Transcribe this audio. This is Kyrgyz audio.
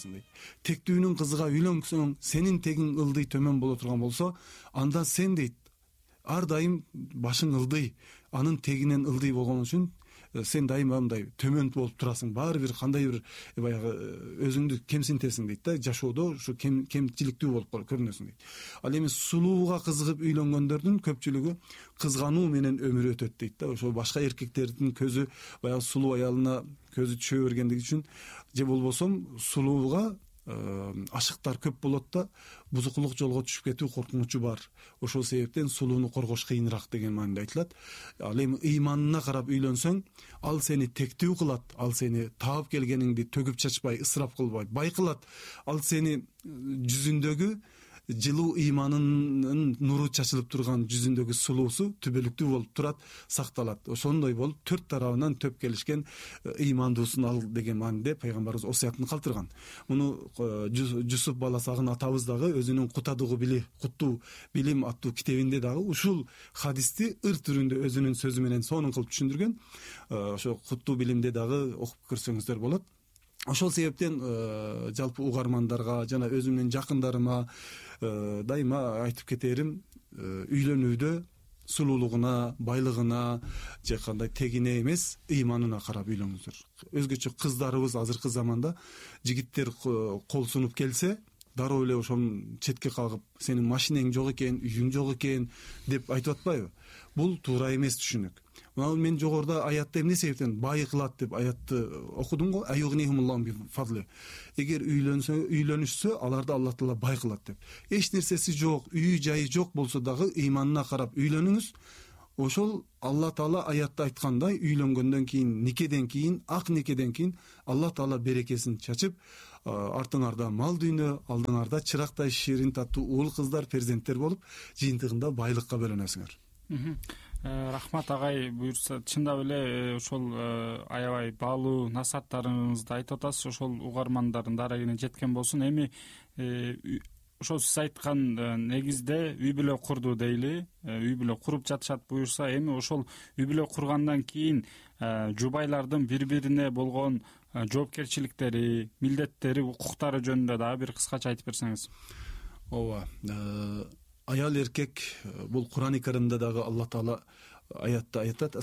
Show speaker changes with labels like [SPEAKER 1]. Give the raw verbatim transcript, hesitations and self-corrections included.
[SPEAKER 1] көрүнөсүң дейт. Тектүүнүн кызыга үйлөнсөң, сенин тегиң ылдый төмөн боло турган болсо, анда сен дейт ар дайым башың ылдый, анын тегинен ылдый болгон үчүн сен дайыма мындай төмөн болуп турасың. Баары бир кандай бир баягы өзүңдү кемсинтесиң дейт да, жашоодо ушу кем кемчиликтүү болуп көрүнөсүң дейт. Ал эми сулууга кызыгып үйлөнгөндөрдүн көпчүлүгү кызгануу менен өмүрү өтөт дейт да. Ошо башка эркектердин көзү баягы сулуу аялына көзү түшө бергендиги үчүн же болбосо сулууга ашыктар көп болот да, бузукулук жолго түшүп кетүү коркунучу бар. Ошол себептен сулууну коргош кыйыныраак деген мааниде айтылат. Ал эми ыйманына карап үйлөнсөң, ал сени тектүү кылат, ал сени таап келгениңди төгүп чачпай, ысырап кылбай, бай кылат. Ал сени жүзүндөгү жылуу ыйманынын нуру чачылып турган жүзүндөгү сулуусу түбөлүктүү болуп турат, сакталат. Ошондой болуп төрт тарабынан төп келишкен ыймандуусун ал деген мааниде пайгамбарыбыз осуятын калтырган. Муну Жусуп баласагын атабыз дагы өзүнүн Кутадугу били, Куттуу билим аттуу китебинде дагы ушул хадисти ыр түрүндө өзүнүн сөзү менен сонун кылып түшүндүргөн. Ошо Куттуу билимде дагы окуп көрсөңүздөр болот. Ошол себептен жалпы угармандарга жана өзүмдүн жакындарыма дайыма айтып кетерим, үйлөнүүдө сулуулугуна, байлыгына же кандай тегине эмес, ыйманына карап үйлөнүңүздөр. Өзгөчө кыздарыбыз азыркы заманда жигиттер кол сунуп келсе, дароо эле ошонун четке кагып, сенин машинең жок экен, үйүң жок экен деп айтып атпайбы? Бул туура эмес түшүнүк. Мына мен жогоруда аятта эмне себептен бай кылат деп аятты окудум го. Эгер үйлөнсө, үйлөнүшсө, аларды Аллах Таала бай кылат деп. Эч нерсеси жок, үй жайы жок болсо дагы ыйманына карап үйлөнүңүз. Ошол Аллах Таала аятта айткандай, үйлөнгөндөн кийин, никеден кийин, ак никеден кийин Аллах Таала берекесин чачып, артыңарда мал дүйнө, алдыңарда чырактай ширин таттуу уул кыздар, перзенттер болуп, жыйынтыгында байлыкка бөлөнөсүңөр.
[SPEAKER 2] Рахмат агай, буюрса чындап эле ошол аябай баалуу насааттарыңызды айтып атасыз. Ошол угармандардын дарегине жеткен болсун. Эми ошол сиз айткан негизде үй бүлө курду дейли, үй бүлө куруп жатышат буюрса, эми ошол үй бүлө кургандан кийин жубайлардын бири-бирине болгон жоопкерчиликтери, милдеттери, укуктары жөнүндө дагы бир кыскача айтып берсеңиз.
[SPEAKER 1] Ооба. Аял эркек, бул Куран-ы Каримде дагы Аллах Таала аятта айтат: